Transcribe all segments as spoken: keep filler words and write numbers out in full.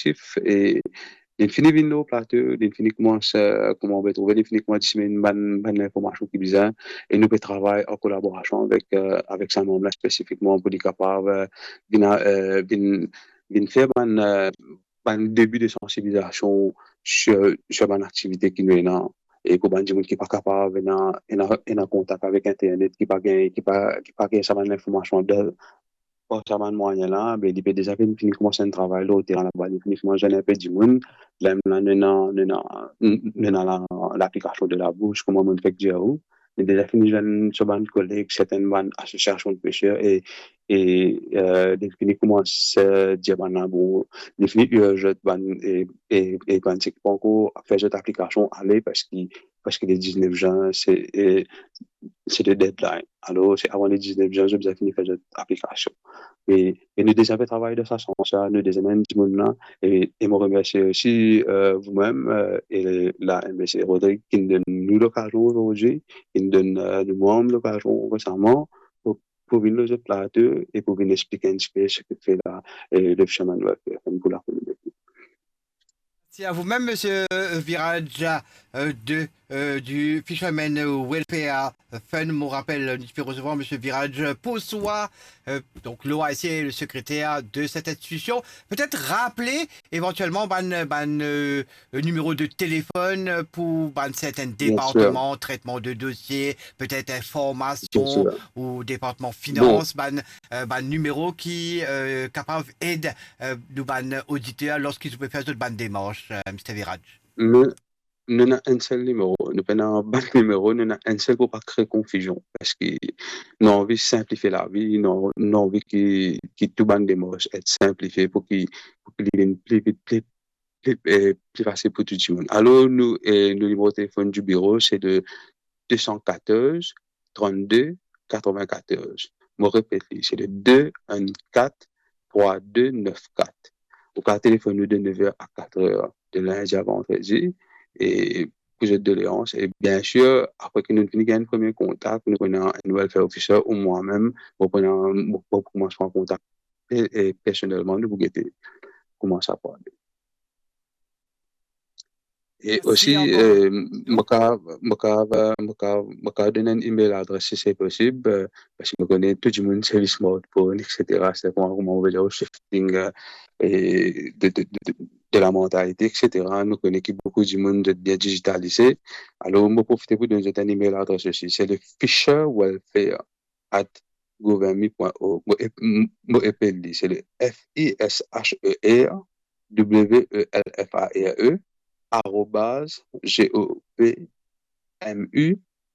kolektif, e li fini vinn lor plato, li fini koumans, eh, kouma ou pe trouve, li fini koumans disemin bann, bann linformasion ki bizin, e nou pe travay an kolaborasion avek, eh, avek sa manm la spesifikman pou li kapav, eh, vinn a-, eh, vinn, vinn fer bann, eh, bann debi de sansibilizasion sir, sir bann aktivite ki nou ena, e pou bann dimoun ki pa kapav ena, ena, ena kontak avek internet, ki pa gagn, ki pa, ki pa gagn sa bann linformasion dan, par sa bann mwayin la, be, li pe deza finn, fini koumans enn travay lor terin laba, li fini koumans zwenn enpe dimoun. Lamem la, nou ena, nou ena, nou ena la, laplikasion de la bourse, kouma mo fek dir ou. Li deza fini zwenn so bann koleg, sertin bann asosiasion de peser, e, e, eh, li fini koumans, eh, dir bann la, bon, li fini ir zot bann, e, e, e bann seki pankor fer zot aplikasion ale, parski, parski le diznef zin, se, e, se le deadline. Alor, se avan le diznef zin, zot bizin fini fer zot aplikasion. E, e nou deza pe travay dan sa sans la, nou deza amenn dimoun la, e, e mo remersie osi, eh, voumem, eh, e la M B C Rodrig ki'nn donn nou lokazion azordi, ki'nn donn, eh, nou manm lokazion resaman pou, pou vinn lor zot plato e pou vinn explik enn tipe seki fer la, eh, le Fisherman Welfare Fund pou lakominote. Merci à vous-même, monsieur Viraj, euh, de, euh, du Fisherman Welfare Fund. Mo rapel, nou ti pe resevwar monsieur Viraj Poswa, euh, donc l'O I C, le secrétaire de cette institution. Peut-être rappeler éventuellement bann, bann, euh, euh, nimero de telefon pou bann sertin departman, tretman de dosie, petet informasion, ou departman finans, bann, euh, bann nimero ki, euh, kapav ed, euh, nou bann oditer lorski zot pe fer zot bann demars, euh, Mister Viraj. Nou, nou ena enn sel nimero, nou pena bann nimero, nou ena enn sel pou pa kre konfizion, parski nou anvi sinplifie lavi, nou, nou anvi ki, ki tou bann demars et sinplifie pou ki, pou ki li vinn pli vit, pli, pli, eh, pli fasil pou tou dimoun. Alor, nou, eh, nou nimero telefon di biro, se le deux cent quatorze, trente-deux, quatre-vingt-quatorze. Mo repet li, se le deux un quatre trois deux neuf quatre. Ou kapav telefonn nou de nev er a kat er, de lindi a vandredi, e pou zot doleans. E bien sir, apre ki nou fini gagn enn premie kontak, nou pran enn welfare officer ou mwa mem, mo pran, mo, mo koumans pran kontak e, e personelman, nou pou gete kouma sa pou ale. E osi, eh, mo kapav, mo kapav, mo kapav donn enn email adres si se posib, eh, parski mo kone tou dimoun servi smartphone, et cetera. Se kouma, kouma mo pe dir, shifting, eh, e de, de, de, de, de la mantalite, et cetera. Nou kone ki boukou dimoun zot bien dizitalize. Alor, mo profite pou donn zot enn email adres osi. Se le fisher welfare at governmi pwin org. Mo ep-, m-, mo epel li, se le F I S H E R W E L F A R E arobaz G O V M U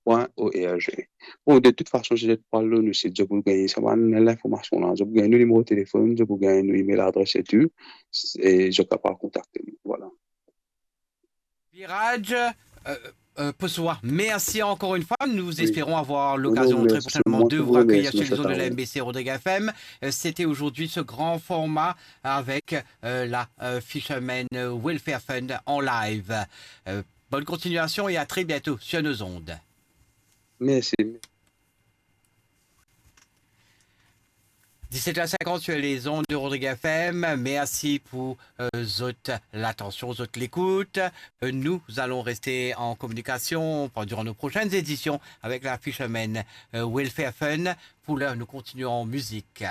pwin O R G. Bon, de tout fason, si zot pou al lor nou sit, zot pou gagn sa bann linformasion la, zot pou gagn nou nimero telefonn, zot pou gagn nou email adres etou, e zot kapav kontakte nou. Vwala. Viraj, euh, euh, Poswa, merci encore une fois. Nous espérons avoir l'occasion très prochainement de vous accueillir sur les ondes de la M B C Rodrigue F M. Euh, c'était aujourd'hui ce grand format avec, euh, la, euh, Fisherman Welfare Fund en live. Euh, bonne continuation et à très bientôt sur nos ondes. Merci. Dix-sept heures cinquante sur les ondes de Rodrigue F M. Merci pour, euh, zot latansion, zot lekout. Euh, nous allons rester en communication pendant nos prochaines éditions avec la Fisherman, euh, Welfare Fund. Pour l'heure, nous continuons en musique.